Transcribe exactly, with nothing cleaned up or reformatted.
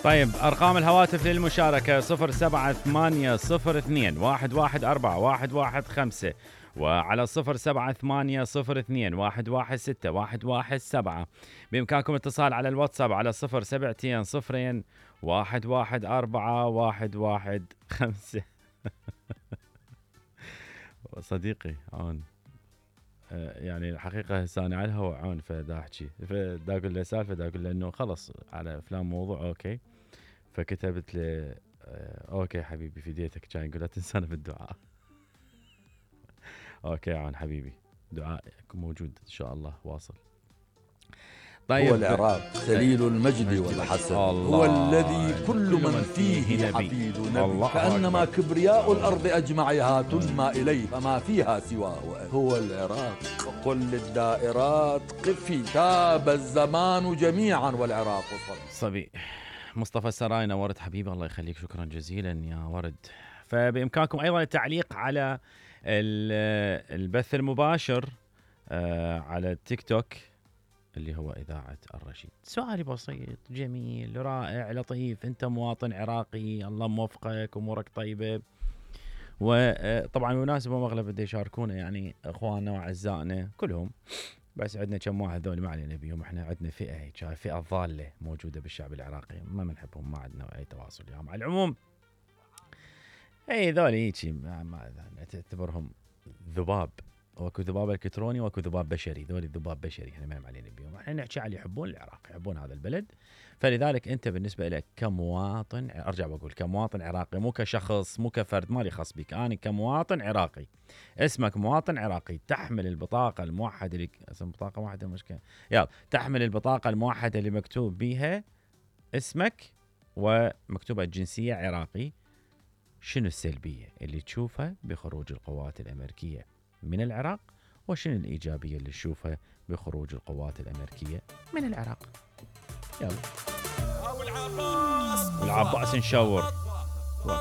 طيب أرقام الهواتف للمشاركة صفر سبعة ثمانية صفر اثنين واحد واحد أربعة واحد واحد خمسة وعلى صفر سبعة ثمانية صفر اثنين واحد واحد ستة واحد واحد سبعة. بإمكانكم اتصال على الواتساب على صفر سبعتين صفرين واحد واحد أربعة واحد واحد خمسة. صديقي عون يعني الحقيقة هسه أنا على الهواء عون فدا أحكي فدا أقول له سالفة دا أقول له إنه خلص على فلان موضوع أوكي. فكتبت له أوكي حبيبي فديتك كان يقول لا تنسانا بالدعاء. أوكي عون حبيبي دعائك موجود إن شاء الله واصل. طيب هو العراق خليل المجد والحسن هو الذي كل من فيه حفيد نبي كأنما كبرياء الأرض أجمعها تنمى إليه فما فيها سواه هو العراق. قل للدائرات قفي تاب الزمان جميعا والعراق صبي. صبي مصطفى السراي نورت حبيبي الله يخليك شكرا جزيلا يا ورد. فبإمكانكم أيضا التعليق على البث المباشر على التيك توك اللي هو إذاعة الرشيد. سؤالي بسيط جميل رائع لطيف، أنت مواطن عراقي الله موفقك أمورك طيبة، وطبعا مناسبة مغلب بده يشاركونا يعني إخواننا وأعزائنا كلهم، بس عندنا كم واحد ذول ما علينا بيهم، احنا عندنا فئة هيك فئة ضالة موجودة بالشعب العراقي ما بنحبهم ما عندنا أي تواصل وياهم. على العموم أي ذول هيك ما تعتبرهم ذباب، واكو ذباب الكتروني واكو ذباب بشري، ذول ذباب بشري احنا ما علينا بيهم، احنا نحكي على اللي يحبون العراق يحبون هذا البلد. فلذلك انت بالنسبه لك كمواطن، ارجع بقول كمواطن عراقي مو كشخص مو كفرد مالي خاص بك، انا كمواطن عراقي اسمك مواطن عراقي تحمل البطاقه الموحده اللي اسم بطاقه واحده مشكله يلا تحمل البطاقه الموحده اللي مكتوب بيها اسمك ومكتوبه الجنسيه عراقي. شنو السلبيه اللي تشوفها بخروج القوات الامريكيه من العراق، وشنو الإيجابية اللي نشوفها بخروج القوات الأمريكية من العراق؟ يلا والعباس نشور.